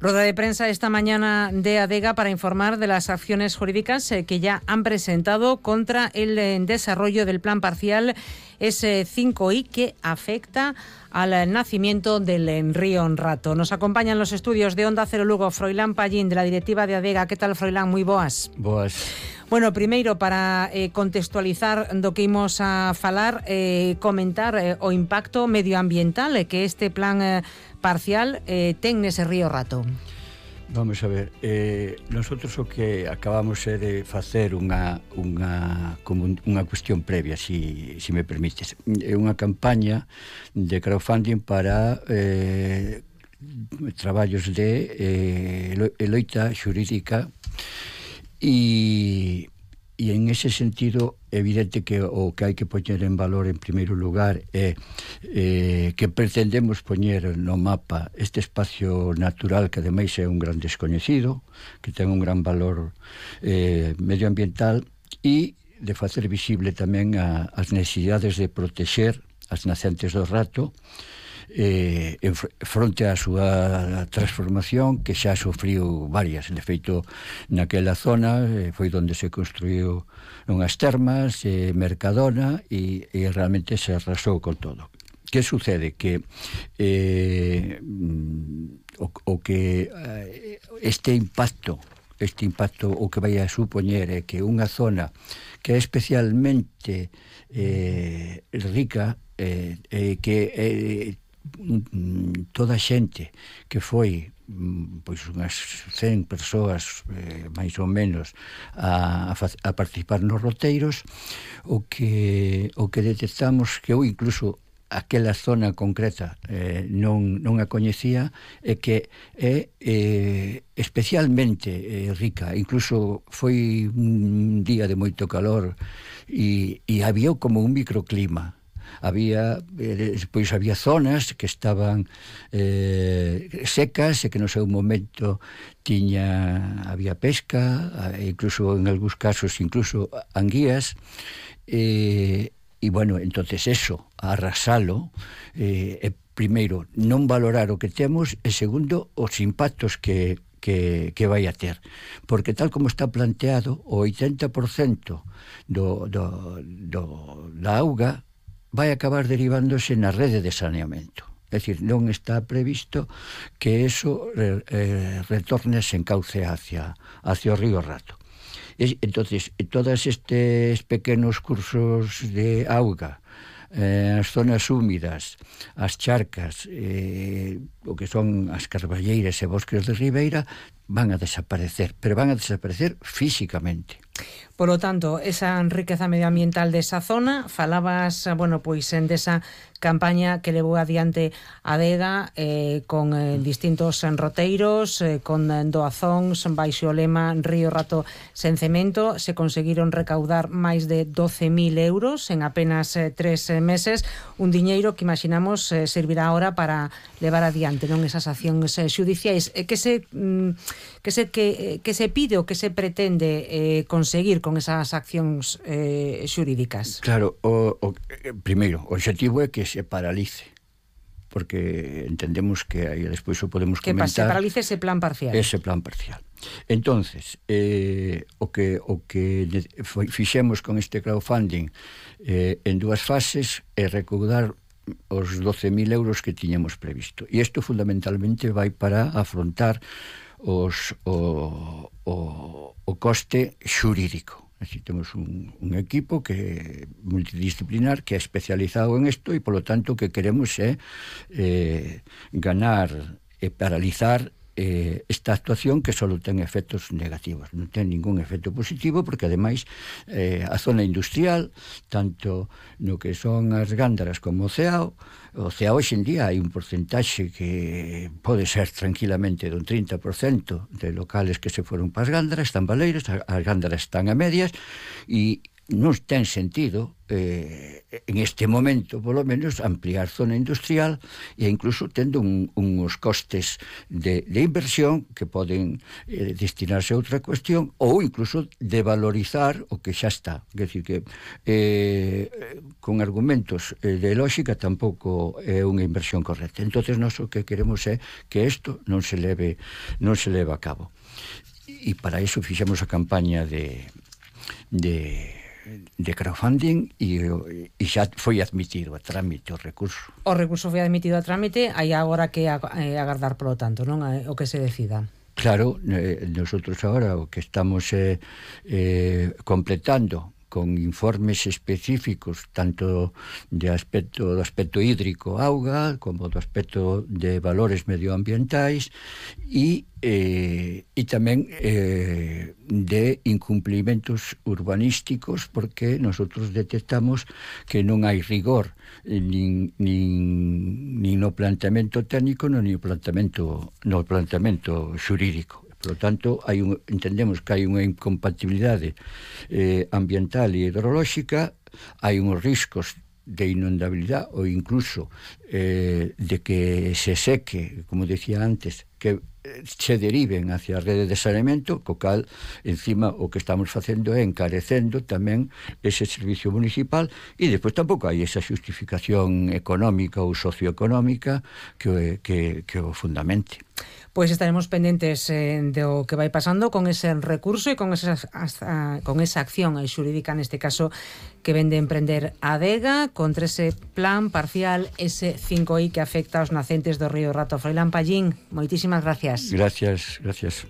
Rueda de prensa esta mañana de Adega para informar de las acciones jurídicas que ya han presentado contra el desarrollo del plan parcial S5i que afecta al nacimiento del río Rato. Nos acompañan los estudios de Onda Cero Lugo Froilán Pallín, de la directiva de Adega. ¿Qué tal, Froilán? Moi boas. Boas. Bueno, primeiro, para contextualizar do que imos a falar, comentar o impacto medioambiental que este plan parcial ten nese río Rato. Vamos a ver, nosotros o que acabamos de facer unha cuestión previa, si me permites, unha campaña de crowdfunding para traballos de loita xurídica. E en ese sentido, evidente que o que hai que poñer en valor en primeiro lugar é que pretendemos poñer no mapa este espacio natural que ademais é un gran descoñecido, que ten un gran valor medioambiental, e de facer visible tamén as necesidades de protexer as nacentes do Rato fronte á súa transformación, que xa sufriu varias. De feito, naquela zona foi onde se construiu unhas termas, Mercadona, e realmente se arrasou con todo. Que sucede? Que este impacto o que vai a supoñer é que unha zona que é especialmente rica, que toda a xente que foi pois unhas 100 persoas máis ou menos a participar nos roteiros, o que detectamos que eu incluso aquela zona concreta non a coñecía, é que é especialmente rica. Incluso foi un día de moito calor e había como un microclima. Había zonas que estaban secas e que no seu momento había pesca, incluso en algúns casos incluso anguías, e bueno, entonces eso, arrasalo, primeiro, non valorar o que temos, e segundo, os impactos que vai a ter, porque tal como está planteado, o 80% da auga vai acabar derivándose na rede de saneamento. É dicir, non está previsto que eso retorne sen cauce hacia o río Rato. Entonces, todos estes pequenos cursos de auga, as zonas húmidas, as charcas, o que son as carballeiras e bosques de ribeira, van a desaparecer, pero van a desaparecer físicamente. Por lo tanto, esa riqueza medioambiental desa zona, falabas, bueno, pois desa campaña que levou adiante Adega con distintos roteiros, con doazóns baixo o lema Río Rato sen cemento. Se conseguiron recaudar máis de 12.000 euros en apenas 3 meses, un diñeiro que imaginamos servirá ahora para levar adiante esas accións xudiciais. Que se pide ou que se pretende conseguir con esas accións xurídicas? Claro, primeiro, o objetivo é que se paralice, porque entendemos que aí despois o podemos comentar. Que se paralice ese plan parcial. Ese plan parcial. Entonces, o que fixemos con este crowdfunding en 2 fases é recaudar os 12.000 euros que tiñamos previsto. E isto fundamentalmente vai para afrontar o coste xurídico. Así, temos un equipo que multidisciplinar que é especializado en isto, e polo tanto o que queremos é ganar e paralizar esta actuación, que só ten efectos negativos, non ten ningún efecto positivo, porque ademais a zona industrial, tanto no que son as gándaras como o ceao hoxe en día hai un porcentaxe que pode ser tranquilamente dun 30% de locales que se foron para as gándaras, están baleiras, as gándaras están a medias, e non ten sentido en este momento, polo menos, ampliar zona industrial e incluso tendo uns costes de inversión que poden destinarse a outra cuestión ou incluso de valorizar o que xa está. Quer dizer que con argumentos de lógica tampouco é unha inversión correcta. Entonces nós o que queremos é que isto non se leve a cabo. E para iso fixemos a campaña de crowdfunding e xa foi admitido a trámite o recurso. O recurso foi admitido a trámite, hai agora que agardar polo tanto, non? O que se decida. Claro, nosotros agora o que estamos completando con informes específicos tanto do aspecto hídrico auga como do aspecto de valores medioambientais e tamén de incumplimentos urbanísticos, porque nosotros detectamos que non hai rigor nin no planteamento técnico nin no planteamento xurídico. Por lo tanto, entendemos que hai unha incompatibilidade ambiental e hidrolóxica, hai uns riscos de inundabilidade ou incluso de que se seque, como decía antes, que se deriven hacia a rede de saneamento, co cal, encima, o que estamos facendo é encarecendo tamén ese servicio municipal, e despois tampouco hai esa justificación económica ou socioeconómica que o fundamente. Pois estaremos pendentes do que vai pasando con ese recurso e con esa acción xurídica, neste caso, que ven de emprender a Adega contra ese plan parcial S5I que afecta aos nacentes do río Rato. Froilán Pallín, moitísimas gracias. Gracias.